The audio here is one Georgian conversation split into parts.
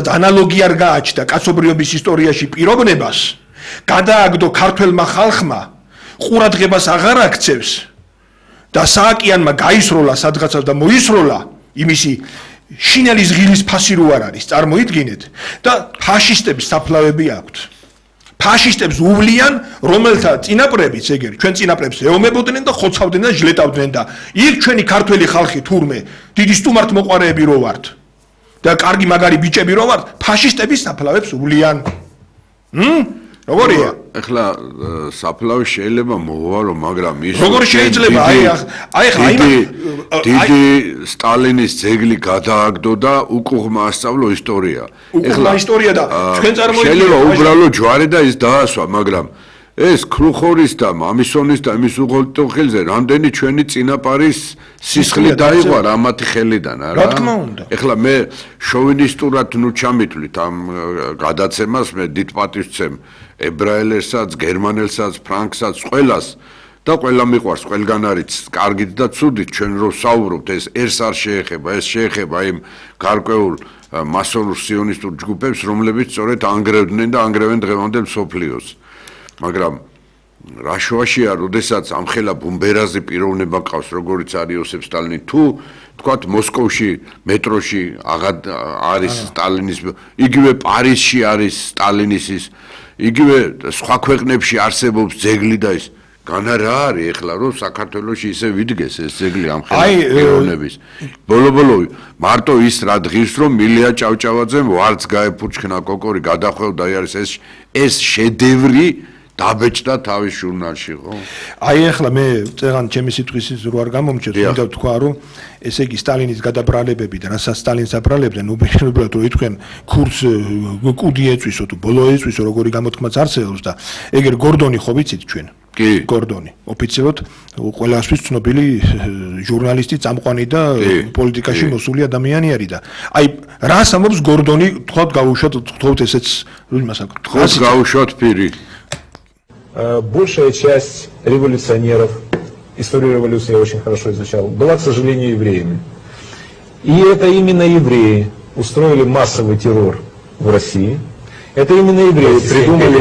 ანალოგი არ გააჩნდა კაცობრიობის ისტორიაში პიროვნებას, გადააგდო ქართველმა ხალხმა, ყურადღებას აღარ აქცევს და სააკიანმა გაისროლა სადღაცას და მოისროლა იმისი შინელი ზღილის ფასი რო არ არის, წარმოიდგინეთ და ფაშისტებს საფლავები აქვთ. ფაშისტებს უვლიან, რომელთა წინაპრებიც ეგერ ჩვენ წინაპრებს ეომებოდნენ და ხოცავდნენ და ჟლეტავდნენ და იქ ჩვენი ქართველი ხალხი თურმე დიდი სტუმართმოყვარეები რო ვართ და კარგი მაგარი ბიჭები რო ვართ, ფაშისტების საფლავებს უვლიან. როგორია? ეხლა საფლავი შეიძლება მოვალო, მაგრამ ის როგორ შეიძლება? დიდი სტალინის ძეგლი გადააგდო და უკუღმა ასწავლო ისტორია. ეხლა ისტორია და ჩვენ წარმოიდგინეთ შეიძლება უბრალო ჯვარი და ის დაასვა, მაგრამ ეს ქრუხორის და მამისონის და იმის უღელტოხილზე რამდენი ჩვენი წინაპარის სისხლი დაიღვა რამათი ხელიდან, არა? რა თქმა უნდა. ეხლა მე შოვინისტურად ნუ ჩამიტვლით ამ გადაცემას, მე დიდ პატივს ვცემ ებრაელსაც, გერმანელსაც, ფრანგსაც, ყველას და ყველა მიყვარს, ყველგან არის კარგით და ცუდით, ჩვენ რო საუბრობთ, ეს არ შეეხება, ეს შეეხება იმ გარკვეულ მასონურ სიონისტურ ჯგუფებს, რომლებიც სწორედ ანგრევდნენ და ანგრევენ დღევანდელ მსოფლიოს. მაგრამ რა შუაშია, როდესაც ამხელა ბუმბერაზე პიროვნება ყავს, როგორიც არის იოსებ სტალინი, თუ თქვათ მოსკოვში მეტროში არის სტალინის, იგივე პარიზში არის სტალინის ის, იგივე სხვა ქვეყნებში არსებობს ძეგლი და ის განა რა არის ეხლა რომ საქართველოში ისე ვიდგეს ეს ძეგლი ამხელა პიროვნების. ბოლო მარტო ის რა დღის რომ მილია ჭავჭავაძემ ვარც გაეფურჩქნა კოკორი გადახვევდა არის ეს შედევრი დაბეჭდა თავის ჟურნალში, ხო? ეხლა მე წეგან ჩემი სიტყვის რო არ გამომჩნევს, მინდა ვთქვა, რომ ესე იგი სტალინის გადაბრალებები და რასაც სტალინს აბრალებდნენ, უბრალოდ რომ ითქვენ ქურს კუდი ეწვისო თუ ბოლო ეწვისო, როგორი გამოთქმაც არსებობს და ეგერ გორდონი ხო ვიცით ჩვენ? კი. გორდონი, ოფიციალურად ყველასთვის ცნობილი ჟურნალისტი, წამყვანი და პოლიტიკაში მოსული ადამიანი არის და რას ამბობს გორდონი, თქვათ გავუშვათ ესეც იმას აქვს. გავუშვათ პირი. Большая часть революционеров, историю революции я очень хорошо изучал, была, к сожалению, евреями. И это именно евреи устроили массовый террор в России. Это именно евреи придумали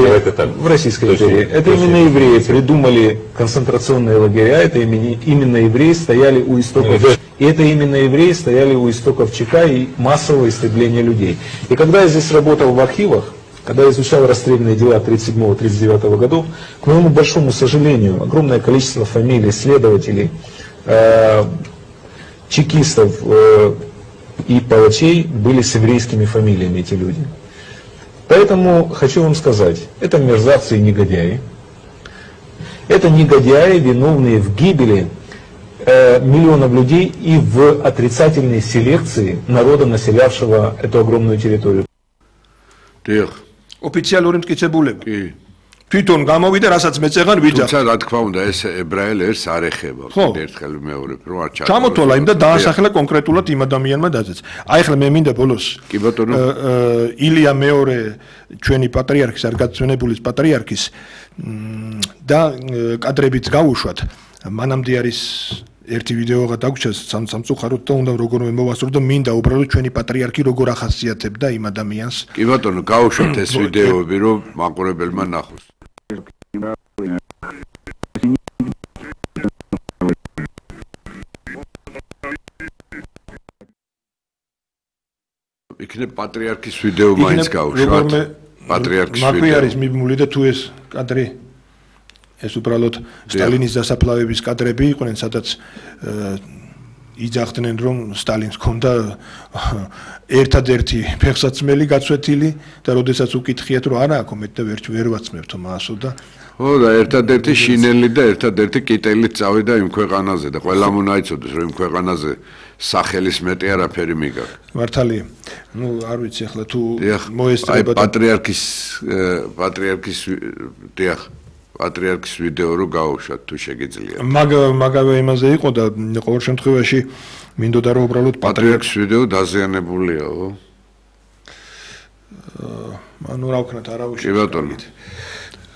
в Российской империи. Это именно евреи придумали концентрационные лагеря. Это именно евреи стояли у истоков. И это именно евреи стояли у истоков ЧК и массового истребления людей. И когда я здесь работал в архивах, когда я изучал расстрельные дела 1937-1939 годов, к моему большому сожалению, огромное количество фамилий следователей, чекистов и палачей были с еврейскими фамилиями, эти люди. Поэтому хочу вам сказать, это мерзавцы и негодяи. Это негодяи, виновные в гибели миллионов людей и в отрицательной селекции народа, населявшего эту огромную территорию. ოფიციალური მტკიცებულება. თვითონ გამოვიდა, რასაც მეწეღან ვიძახ. თუმცა რა თქმა უნდა, ეს ებრაელ ერს არ ეხება. ერთხელ მეორებ, რომ არ ჩართო. ჩამოთვალა იმ და დაასახელა კონკრეტულად იმ ადამიანმა დაძეც. ახლა მე მინდა ბოლოს კი ბატონო ილია მეორე ჩვენი პატრიარქის, არ გაწვენებულის პატრიარქის და კადრებით გავუშვათ. მანამდე არის ერთი ვიდეო გადაგვრჩას სამწუხაროდ და უნდა როგორმე მოვასწრო და მინდა უბრალოდ ჩვენი პატრიარქი როგორ ახასიათებდა იმ ადამიანს. კი ბატონო, გავუშვათ ეს ვიდეოები, რომ მაყურებელმა ნახოს. იქნებ პატრიარქის ვიდეო მაინც გავუშვათ. პატრიარქის ვიდეო. მაქვე არის მიბმული და თუ ეს კადრი ეს უბრალოდ სტალინის დასაფლავების კადრები იყვნენ, სადაც იძახდნენ, რომ სტალინს ჰქონდა ერთადერთი ფეხსაცმელი გაცვეთილი და როდესაც უკითხიათ, რომ არა აქ მეტ და ვერ ვაცმევთო მასო და ხო და ერთადერთი შინელი და ერთადერთი კიტელით წავიდა იმ ქვეყანაზე და ყველამ უნდა იცოდეს, რომ იმ ქვეყანაზე სახელის მეტი არაფერი მიგაქვს. მართალია. ნუ არ ვიცი ახლა თუ მოესწრება პატრიარქის ვიდეო რო გავუშვათ თუ შეგიძლია. მაგავე იმაზე იყო და ყოველ შემთხვევაში მინდოდა რომ უბრალოდ პატრიარქის ვიდეო დაზიანებულია, ხო? ანუ რა ვქნათ, არავის. კი ბატონო.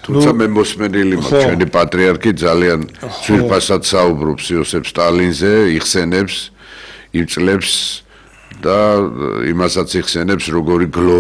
თუმცა მე მოსმენილი მაქვს, ჩვენი პატრიარქი ძალიან ძვირფასად საუბრობს იოსებ სტალინზე, იხსენებს, იწლებს და იმასაც იხსენებს, როგორი